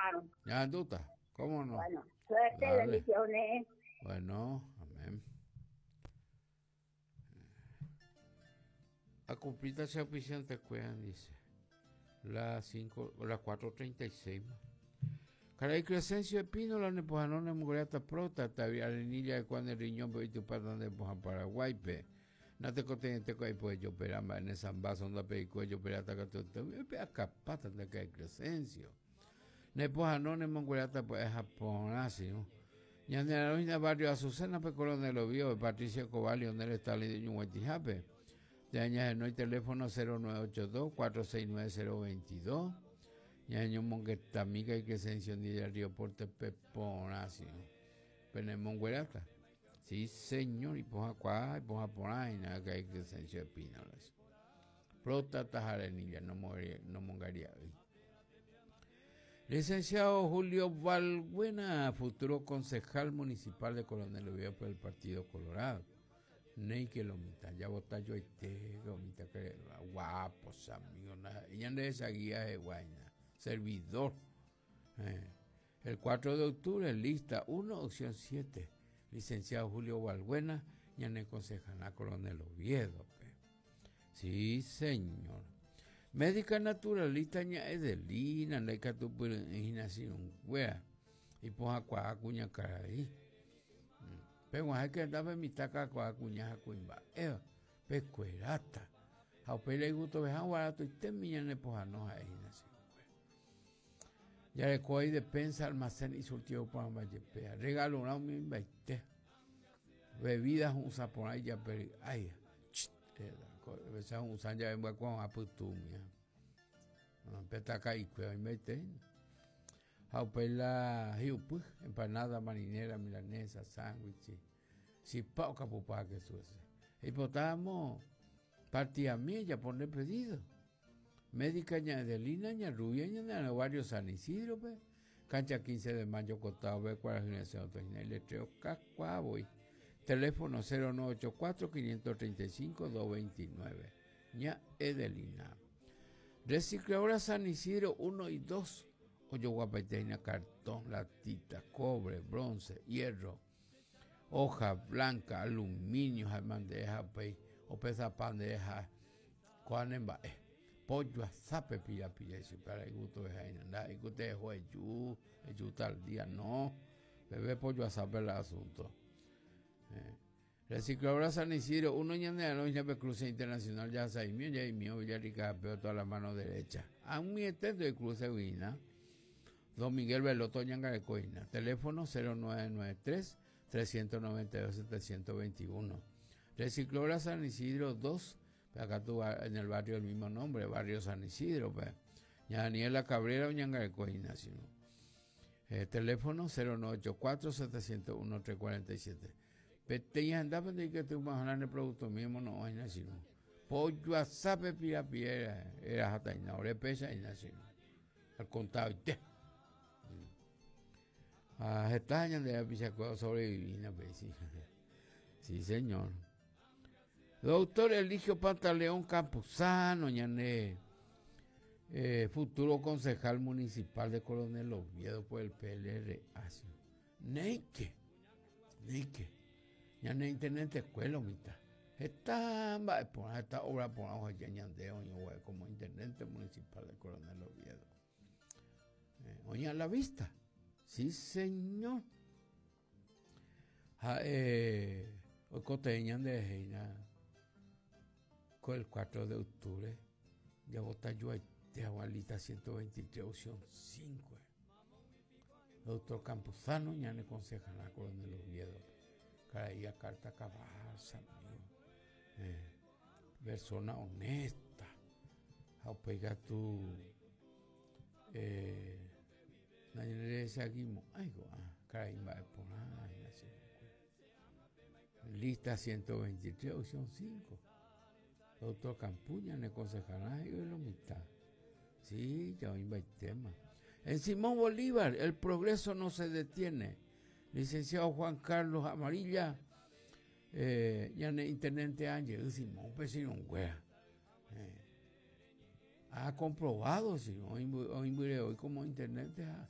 Porãrõ. Ñahendúta, cómo no. Bueno, suerte, Dale. bendiciones. Bueno, amén. Acumplita che auspiciante kuéra, dice. La 5, la 4.36. Karai Crescencio Espínola nepohano nemongueráta próstata, arenilla de cuando el riñón pe oitypáta nde pohã Paraguáipe. Natekotevẽite ko aipo ejopera mba'e ne sambaso ndapeiko ejoperáta katuete oipe'akapáta nde karai Crescencio. Nepohano nemongueráta pya'e ha porã sirũ. Ñane ararõ hína barrio Azucena pe Coronel Oviedo, Patricio Escobar, Leonel Stalin oñuguaitĩhápe. Térã ñahenói teléfono 0982 469 022. Ñañomongetami karai Crescencio ndive del Río Porte pe porã sirũ. Penemongueráta. Sí, señor, ipohãkuaa, ipohã porã hína karai Crescencio Espínola. Próstata ha arenilla nomongaria'ỹi. Licenciado Julio Balbuena, futuro concejal municipal de Coronel Oviedo por el Partido Colorado. Néike lo mitã, ya vota joaite, lo mitã que guapo, amigo, ñande esa guía de guaina, servidor. Eh. El 4 de octubre, lista 1, opción 7. Licenciado Julio Balbuena, ñane concejala Coronel Oviedo. Pe. Sí, señor. Médica naturalista ña Edelina, ndaikatupyry'ỹi sirũnguéra. Ipohãkuaa kuñakarai. Peg̃uahẽke hendápe mitã kakuaa kuña ha kuimba'éva, pekueráta. Ha upéi reigutoveha guaratoitémi ñane pohãno ha'e hína sirũnguéra. Jareko aí despensa, almacén y surtido porãmba jepe. Regalorã umi mbaite. Bebida hu'ũsã porã ijape ry'áiva. Ohecha hu'ũsã jave mbyakuã pytũmi. Pe taka'ikue oimbaite hína. Ha upéi la hi'upy, empanada, marinera, milanesa, sándwich, chipa okapupa kesu hese. Eipotáramo partidami ejapo nde pedido. Médica ña Edelina, ña Rubia, ñane arã barrio San Isidro-pe, cancha 15 de mayo kotao-pe, kuarahy resẽ otohína iletrero kakuaa voi. Teléfono 0984 535 229. Ña Edelina. Recicladora San Isidro 1 y 2 ojoguapaite hína cartón, latita, cobre, bronce, hierro, hoja blanca, aluminio ha mandeha upéi opesapa ndeha kóa ne mba'e. Pollo asápe pira pira ichupe ara igustoveha hína ndaha'éi ku teho eju, eju tal día no, peve pollo asápe la asunto. Eh. Recicladora San Isidro, uno ñane arõ hína pe cruce internacional jahasaimío jaimío Villarrica hape toda la mano derecha. Ag̃uiete de cruce guina. Don Miguel Veloto oñangareko hína. Teléfono 0993 392 721. Recicladora San Isidro 2, acá tu en el barrio del mismo nombre, barrio San Isidro, pe. Ña Daniela Cabrera oñangareko hína, sino. Eh, teléfono 0984 701 347. Peteĩ hendápe ndaikatúi omoha'arã ne productomi omono'õ hína che irũ. Pojoasápe pirapire eraháta hína, ore péicha hína che irũ. Al contadoite. Ha heta ñande rapichakuéra osorevivi hína péicha. Sí, señor. Doctor Eligio Pantaleón Campuzano, ñane eh, futuro concejal municipal de Coronel Oviedo por el PLRA. Néike, néike, ñane intendentekuéra lo mitã. Heta mba'e porã, heta obra porã oheja ñande oĩ como intendente municipal de Coronel Oviedo. Eh, oĩ a la vista. Sí, señor. Ha'e oikotevẽ ñanderehe hína ko el 4 de octubre javota joaite hag̃ua lista 123 opción 5. Doctor Campuzano ñane consejará Coronel Oviedo. Karai a carta cabal, amigo. Eh, persona honesta. Ha upéi katu eh, nañanerechagimo'ãi ko'ã karai mba'e porã hína chupekuéra. Lista 123, opción 5. Doctor Campuña ne consejará he'i lo mitã. Sí, ya oĩmbaitéma. En Simón Bolívar, el progreso no se detiene. Licenciado Juan Carlos Amarilla, eh, ñane intendente Ángel Simón Pesirũnguéra. Eh, ha comprobado, si oĩmbyre oĩ como intendente ha.